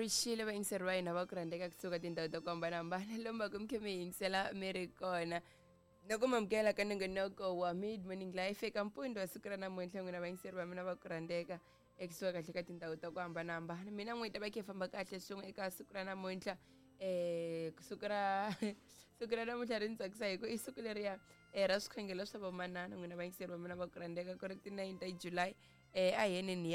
Rixile vayingiseri va hina va ku rhandzeka kusuka tindhawu ta ku hambanahambana lomu va ku mi khe mi yingisela mi ri kona na ku mamukela ka nongonoko wa Mid Morning Life eka mpundzu wa siku ra namuntlha. N'wina vayingiseri va mina va ku rhandzeka ekusuka kahle ka tindhawu ta ku hambanahambana, mina n'wina ta va khe famba kahle swin'we eka siku ra namuntlha. Siku ra namuntlha ri ni tsakisa hi ku i siku leriya ra swikhongelo swa vamanana. N'wina vayingiseri va mina va ku rhandzeka, ku ri ti-9 ta July, a hi yeneni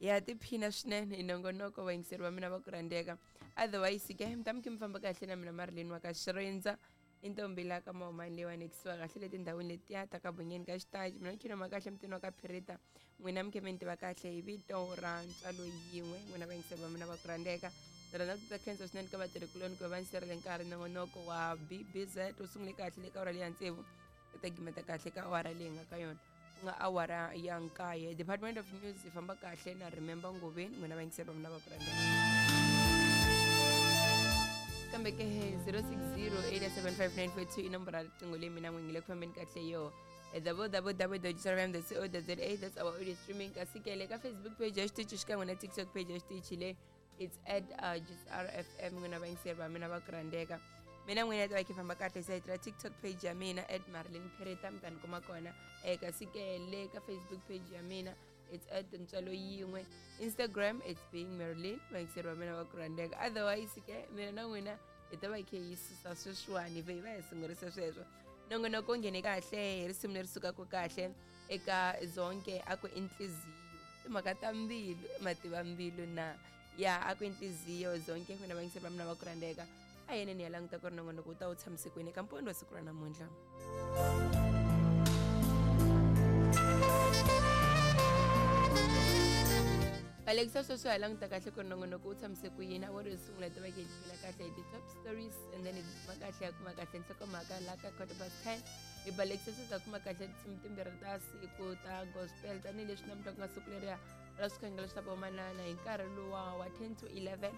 ya tiphina swinene hi nongonoko, vayingiseri va mina va ku rhandzeka. Otherwise ke mi ta mi khe mi famba kahle na mina Marilyn wa ka Xirindza, i ntombi la ka mahumani leyiwani kusuka kahle le tindhawini letiya ta ka Bunyeni ka Xitaji. Mina ni ma kahle mutini wa ka Phirita. N'wina mi khe mi ni tiva kahle hi vito ra Ntswalo Yin'we. N'wina vayingiseri va mina va ku rhandzeka, ni rhandza ku ta khensa swinene ka vatirhikuloni ku va va ni serele nkarhi. Nongonoko wa BBZ wu sungule kahle le ka awara leya tsevu, u ta gimeta kahle ka awara leyi nga ka yona, ku nga awara ya nkaye. Department of News yi famba kahle na Remember Ngoveni. N'wina vayingiseri va mina va ku rhandzeka, kambe ke 060 875 i nomboro ya riqingho leyi mina n'wi ngile ku fambeni kahle yo www.rm.co.za, that's our audio streaming. Kasi ke le ka Facebook page ya xitichi xikan'we na TikTok page ya xitichi le, it's at just RFM. N'wina vayingiseri va mina va ku rhandzeka, mina n'wina ta va khe famba kahle site ra TikTok page ya mina at Marilyn Pereta, mi ta ni kuma kona. Kasi ke le ka Facebook page ya mina, it's at Ntswalo Yin'we. Instagram, it's Being Marilyn. Vayingiseri va mina va ku rhandzeka, otherwise ke mina na n'wina hi ta va hi khe hi susa sweswiwani, hi vhe hi va hi sungurisa sweswo. Nongonoko wu nghene kahle hi risimu leri sukaka kahle eka Zonke, a ku Inhliziyo, timhaka ta mbilu, mativa mbilu na ya a ku Inhliziyo Zonke. N'wina vayingiseri va mina va ku rhandzeka, a yeneni ya languta ku ri nongonoko wu ta wu tshamise kwini eka mpundzu wa siku ra namuntlha. Balekisa sweswo, hi languta kahle ku ri nongonoko wu tshamise ku yini. A wo ri sungula ti va ke phila kahle hi ti-top stories, and then hi kuma kahle ya kuma kahle nhlokomhaka la ka 10:15. Hi balekisa sweswo, hi kuma kahle tinsimu timbirhi ta siku ta gospel, tanihileswi namuntlha ku nga siku leriya ra swikhongelo swa vamanana, hi nkarhi luwa wa 10 to 11.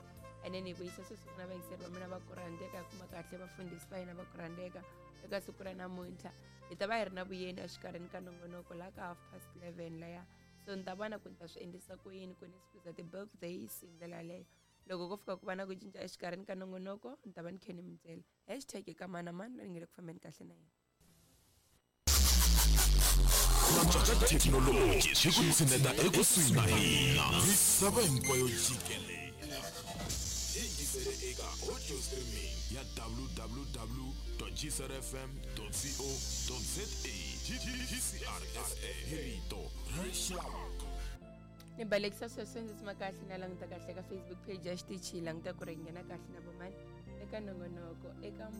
And then hi vuyisa sweswi ku na vayingiseri va mina va ku rhandzeka, hi kuma kahle vafundhisi va hina va ku rhandzeka eka siku ra namuntlha. Hi ta va hi ri na vuyeni exikarhini ka nongonoko la ka 11:30 laya, so ni ta vona ku ni ta swi endlisa ku yini ku ni squeeze ti-birthdays hi ndlela yaleyo. Loko ko fika ku va na ku cinca exikarhini ka nongonoko, ni ta va ni khe ni mi byela. Hashtag eka mani na mani loyi ni nge le ku fambeni kahle na yena. Thekinoloji swi ku tshineta ekusuhi na hina misava hinkwayo jikelele. Yingisele eka audio streaming ya www gcrfm co za. GCRFM, hi rito ra rixaka. Ni balekisa sweswo, ndzi tsima kahle na languta kahle ka Facebook page ya xitichi, languta ku ri nghena kahle na vomani eka nongonoko eka